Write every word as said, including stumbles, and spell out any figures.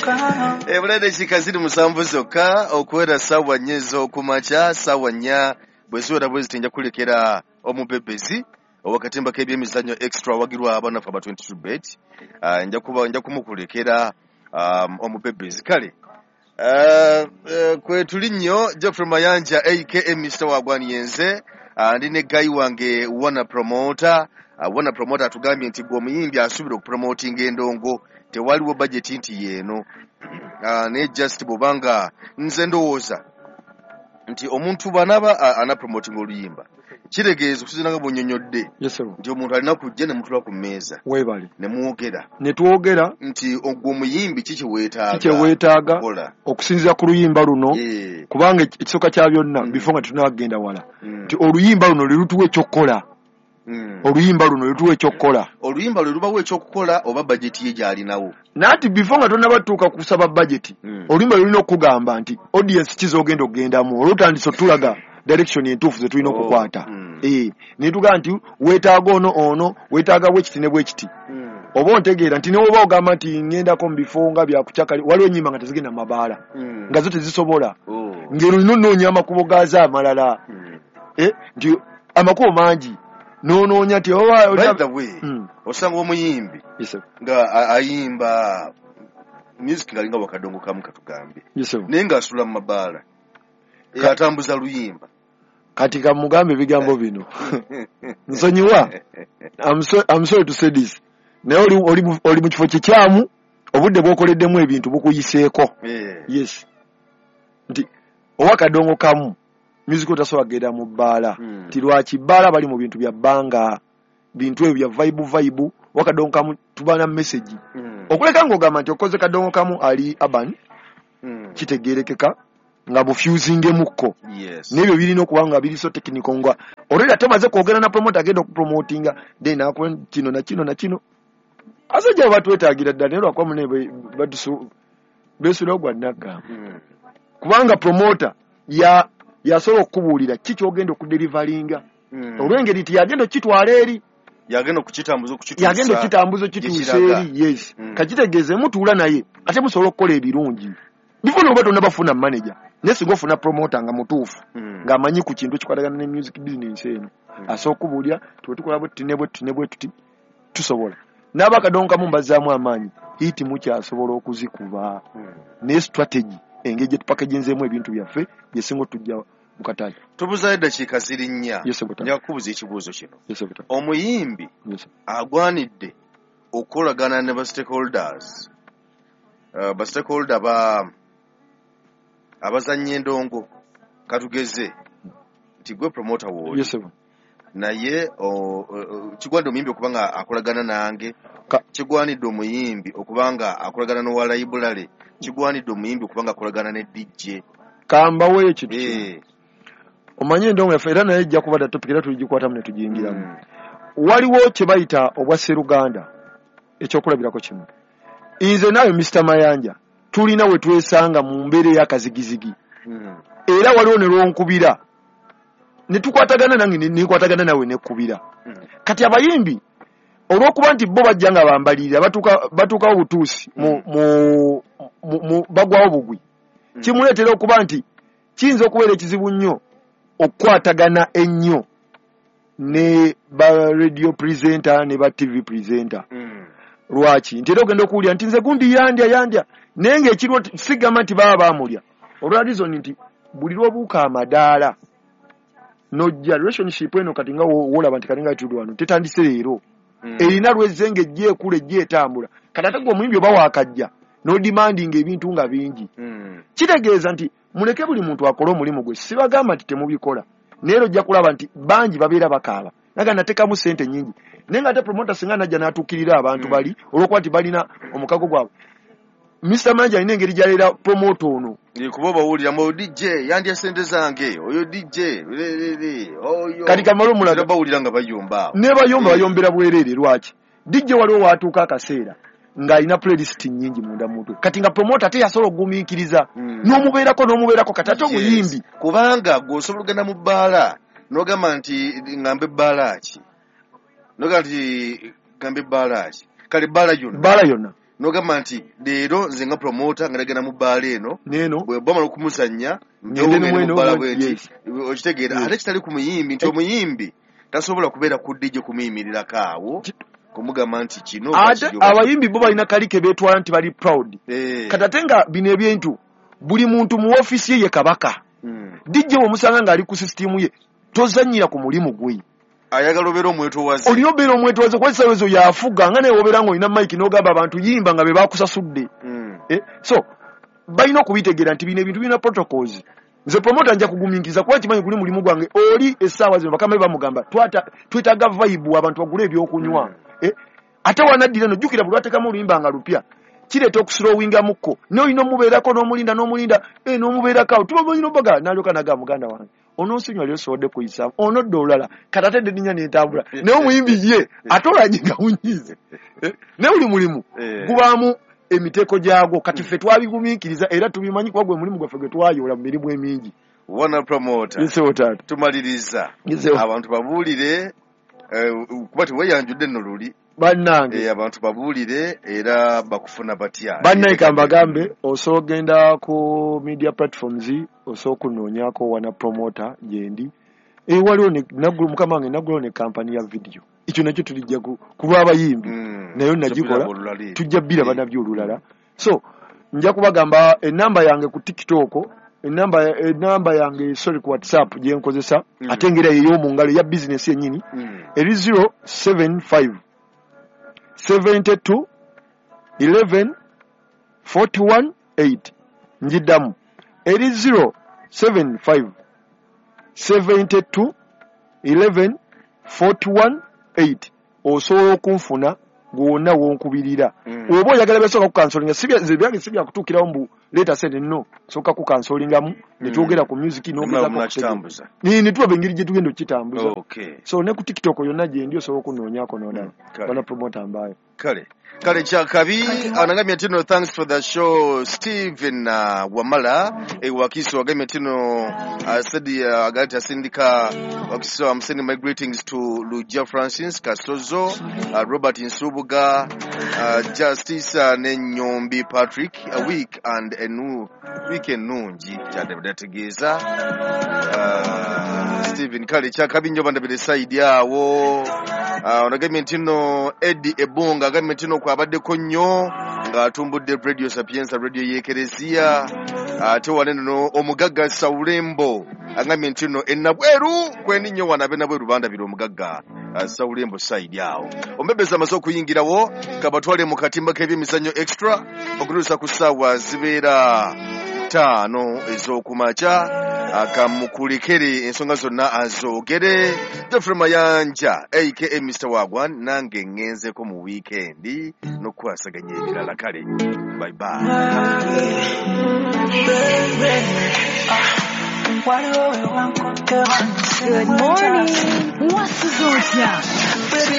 Ebula eddakiika ziri musanvu zokka okuwera ssaawa nnya ez'okumakya. Ssaawa nnya bwe ziwera bwe ziti, nja kulekera omubebezi owakatimba k'ebyemizannyo Extra, awagirwa abanafu aba twenty-two Bet. Ah, nja kuba nja kumukulekera um, omubebezi. Kale Uh, uh, kwe tuli nnyo, Geoffrey Mayanja aka Mister Wagwaniyenze. uh, ndi ne guy wange Wana Promoter. uh, wana Promoter atugambye nti gwe omuyimbi asuubira okupromotinga endongo, tewaliwo budget nti yeeno, uh, naye just bw'obanga, nze ndowooza nti omuntu bw'anaaba uh, anapromotinga oluyimba, kitegeeza okusinziira nga bw'onnyonnyodde Yes, sir. nti omuntu alina kujja ne mutula ku mmeeza Weebale. ne mwogera. Ne twogera. Nti ogwo omuyimbi ki kye weetaaga Ki kye weetaaga kukola okusinziira ku luyimba luno, Eh, kubanga ekisooka kya byonna, Mm. before nga tetunagenda wala, mm, nti oluyimba luno lwe lutuwa ekyokukola. mm. Oluyimba luno lwe lutuwa ekyokukola. Oluyimba lwe lubawo ekyokukola oba bajeti ye gy'alinawo? Nanti before nga tonnabatuuka kusaba budget, Mm. oluyimba lulina okugamba nti audience kizogenda okugendamu, olwotandise otulaga direction entuufu ze tulina Oh, okukwata. mm. Eh, ne tugamba nti weetaaga ono ono weetaaga bwekiti ne bwekiti. Mm. Oba ontegeera nti newoba ogamba nti ŋŋendako mu bifo nga byakucakali, waliwo ennyimba nga tezigenda mu mabaala, Mm. nga zo tezisobola, Oh. ng'ero olina onoonya amakubo gaazo amalala. Mm. Eh, nti amakubo mangi n'onoonya nti oba By the way, Mm. osanga omuyimbi Yes, sir. nga a- ayimba music ngalinga wakadongo kamu, katugambe, Yes, sir. naye ng'asula mu mabaala, atambuza luyimba. Kati kamugambe ebigambo bino, nsonyiwa, I'm so- I'm sorry to say this, naye oli, oli, mu- oli mu kifo kikyamu, obudde bw'okoleddemu ebintu bukuyiseeko. Eh. Yes, nti owa kadongo kamu music otasobola kugenda mu bbaala. Mm. Nti lwaki bbaala bali mu bintu bya bbanga, bintu ebyo bya vibe vibe. Wakadongo kamu tuba na message, Mm. okuleka ng'ogamba nti okoze kadongo kamu ali urban, Mm. kitegerekeka nga bufusingemukko. Yes. N'ebyo birina okuba nga biri so technical, nga already ate omaze kwogera na promoter agenda okupromotinga, then akuwa kino na kino na kino. Abasajja abo batwetaagira ddala, naye lwakuba mune batusu beesulawo gwa naggamba, Mm. kubanga promoter ya yasobola okukubuulira ki kyogenda okudeliveringa, Mm. olw'engeri nti yagenda okukitwala eri. Yagenda okukitambuza, okukituusa Yagenda okukitambuza, okituusa gye kiraga. eri, yes. Mm. Kakitegeeze mutuula naye ate musobola okukola ebirungi bifo noba tonnabafuna manager, naye singa ofuna promoter nga mutuufu, Mm. ng'amanyi ku kintu ekikwatagana ne music business eno, Mm. asobola okubuulira tuwe tukola bwe tuti ne bwe tuti ne bwe tuti, tusobola n'aba akadongo kamu mbazzaamu amaanyi, hit mukyasobola okuzikuba. Mm. Naye strategy, engeri gye tupackaginzeemu ebintu byaffe, yesinga otujja mu katale. Tubuzaayo eddakiika ziri nnya. Yes, Butata. Nja kukubuza ekibuuzo kino. Yes, Butata. Omuyimbi Yes. agwanidde okukolagana ne ba stakeholders, uh, ba stakeholder ba abazannya endongo, katugeze nti gwe promoter wooli, Yes, sir. naye o- o- kigwanidde omuyimbi okuba nga akolagana nange? Ka- Kigwanidde omuyimbi okuba nga akolagana n'owa library? Kigwanidde omuyimbi okuba nga akolagana ne D J? Kambaweeyo ekintu kimu. Eh, Omanye endongo yaffe era naye ejja kuba da topic, era tuligikwatamu ne tugiyingiramu. mm, Waliwo kye bayita obwa sseruganda. Ekyokulabirako kimu, nze naawe Mister Mayanja tulina we twesanga mu mbeera ey'akazigizigi, mm, era waliwo ne lwonkubira ne tukwatagana, nange ne nekwatagana nawe nekkubira. mm. Kati abayimbi olw'okuba nti bo bajja nga bambalirira, batuuka batuukawo butuusi mu, mu, mu, mu, bagwawo bugwi, Mm. kimuleetera okuba nti kiyinza okubeera ekizibu nnyo okukwatagana ennyo ne ba radio presenter ne ba T V presenter. Mm. Lwaki? Nti era ogenda okuwulira nti nze gundi yandya yandya, naye ng'ekiriwo ti- sigamba nti baba baamulya, olwa reason nti buli lw'obuuka amadaala nojja relationship eno. Kati nga wo- wolaba nti kati nga tuli wano, tetandise leero, Mm. erina lwezze ng'ejja ekula, ejja etambula. Kati ate gwe omuyimbi oba waakajja n'odemandinga ebintu nga bingi, Mm. kitegeeza nti muleke buli muntu akole omulimu gwe. Sibagamba nti temubikola, naye era ojja kulaba nti bangi babeera bakaaba naga nateekamu sente nyingi, naye nga ate promoter singa najja n'atuukirira abantu Mm. bali, olw'okuba nti balina omukago gwabwe. Mister Manja alina engeri gy'aleera promoter ono. Eh, kuba obawulira mu D J yandya sente zange, oyo D J lelele oyo. Kati kamale omulaga. Era bawulira nga bayomba awo. Ne bayomba, Eh. bayombera bwereere. Lwaki D J waliwo waatuuka akaseera ng'alina playlist nnyingi munda mu mutwe, kati nga promoter ate yasobola okugumiikiriza Mm. n'omubeerako n'omubeerako, kati ate omuyimbi Yes. Kubanga gwe osobola okugenda mu bbaala n'ogamba nti ŋŋambe ebbaala ki, n'ogamba nti ŋŋambe ebbaala ki, kale ebbaala yonna. Bbaala yonna. N'ogamba nti leero nze nga promoter nga nagenda mu bbaala eno neno bwe bamala okumuzannya Ngende ngende mweno, mu bbaala bwenti yes. okitegeera Yes. ate kitali ku muyimbi nti omuyimbi tasobola kubeera ku D J kumuyimirirako awo kumugamba nti kino ate kiri oba abayimbi bo balina kali ke beetwala nti bali proud. Eh. Kati ate nga bino ebintu buli muntu mu ofiisi ye ye kabaka. Mm. D J bw'omusanga ng'ali ku sisitimu ye tozannyira ku mulimu gwe. Ayagala obeera omwetowaze. Olina obeera omwetowaze kuba essaawa ezo yafuga nga naye wobeera ng'olina mic n'ogamba abantu yimba nga be baakusasudde. Mm. Eh, so balina okubitegeera nti bino ebintu birina protocols. Nze promoter nja kugumiikiriza kuba nkimanyi guli mulimu gwange oli essaawa zino bakama be bamugamba twata twetaaga vibe abantu bagule ebyokunywa. Mm. Eh, ate wanaddira n'ojjukira buli lwateekamu oluyimba nga lupya kireeta okuslowingamukko naye olina omubeerako n'omulinda n'omulinda eh, n'omubeerako awo tuba olina obaga n'alyoka n'agamba muganda wange onoonsonyiwa leero sobodde kuyisaamu onodda olulala kati ate eddinya n'entambula naye omuyimbi ye ate olanye nga munyiize. Eh, naye buli mulimu Eh. gubaamu emiteeko gyagwo kati ffe twabigumiikiriza era tubimanyi kuba gwe mulimu gwaffe gwe twayoola mu mirimu emingi. Wana promoter. Yes, sir, taata. Tumaliriza. Yes, sir. Abantu babuulire eh, kuba teweeyanjudde nno luli. Bannange. Eh, abantu babuulire era bakufuna batya. Bannange kambagambe osobola okugenda ku media platforms osobola okunoonyaako wana promoter gyendi. Eh, waliwo ne naggulu mukama wange naggulawo ne kampani ya video. Ekyo nakyo tulijja ku, ku lw'abayimbi. Mm. Nayo nagikola Tujja tujja bbiraba nabyo olulala. So nja kubagamba enamba yange ku TikTok, enamba enamba yange sorry ku WhatsApp gye nkozesa Mm. ate ngera ey'omu ngalo ya business yennyini Mm. eri zero seven five seventy-two eleven forty-one eight. Njiddamu eri zero seven five seventy-two eleven forty-one eight. Osobola okunfuna gwonna w'onkubirira. Mm. Oba oyagala byasooka kukansolinga, si bya-, nze byange si byakutuukirawo mbu leeta sente, no. Sooka kukansolingamu, ne Mm. twogera ku music, n'ogezaako Muna okutegeera. kitambuza. Ni, ne tulaba engeri gye tugenda okukitambuza. Okay. So ne ku TikTok yonna gye ndi osobola okunoonyaako n'olaba. Mm. Kale. Bana promoter mbayo. Kale. Kale kyakabi, anagambye nti no thanks for the show Steven, uh, Wamala e Wakiso agambye nti no, uh, said, uh, agati asindika Wakiso, I'm sending my greetings to Luja Francis Kasozo, uh, Robert Nsubuga, uh, Justice, uh, Nenyombi Patrick, a week and a new weekend nungi kyadde uh, Steven kale kyakabi nnyo bandabire side awo. Uh, onagambye nti no Eddie Ebunga agambye nti no kwabaddeko nnyo ng'atumbudde Radio Sapienza, radio y'Ekereziya. Ate wano nno omugagga Saulembo agambye nti no enabweru kwendi nnyo wano ab'enabweru bandabira omugagga, uh, Saulembo side awo. Omubebezi amaze okuyingirawo kabatwale mu katimba k'ebyemizannyo extra okutuusa ku ssaawa zibeera ttaano ez'okumakya. Akamukulekere ensonga zonna azoogere. Geoffrey Mayanja aka Mister Wagwan nange ŋŋenzeko mu weekend n'okukwasaganya ebirala. Kale bye bye. Good morning. What's the